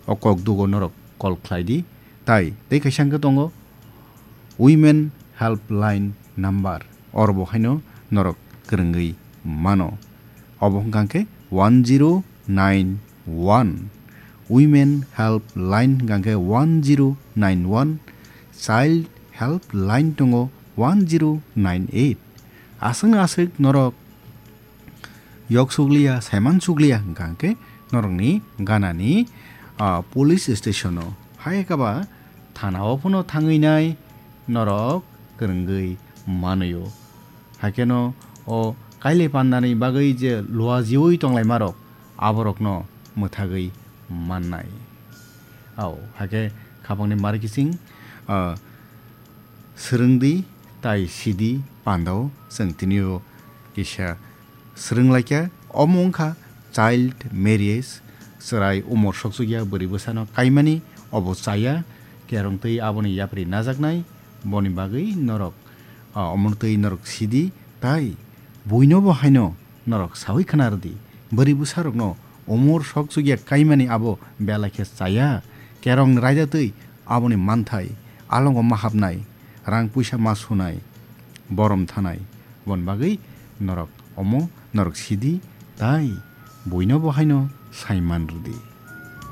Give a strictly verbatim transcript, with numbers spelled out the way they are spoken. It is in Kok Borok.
o kok dugo norok call khlai di. Tai tei kaisa hwnkhe tongo Women Helpline number, oro bo haino norok kwrwngwi mano. Obo hwnkha khe one zero nine one, Women Helpline hwnkha khe one zero nine one, Child Helpline tongo one zero nine eight. Aswkno aswk norok yok sukliya, saiman sukliya hwnkha khe norokni ganani, ah, police station-o, hai khe ba thana-o phano thangwi nai norok kwrwngwi manwi-o. Haikhe no o kailai pandani bagwi je luajiui tonglaima rok, aborokno mwthagwi mannai. Au, haikhe khapangni mari kiching, ah, swrwngdi tai sidi pandao chwng tini-o kisa swrwnglaikha. Omo wngkha child marriage, chwrai umor soksukya bwrwi bwsano kaimani, obo chaya, kerong twi aboni yapri najaknai, boni bagwi norok, ah, omo twi norok sidi, tai buino bo haino norok saui khna rwdi. Bwrwi bwsarokno umor soksukya kaimani abo belai khe chaya, kerong raida twi aboni manthai alongo ma hapnai, rang puisa ma sunai, borom thanai, boni bagwi norok omo norok sidi, tai buino bo haino saiman rwdi.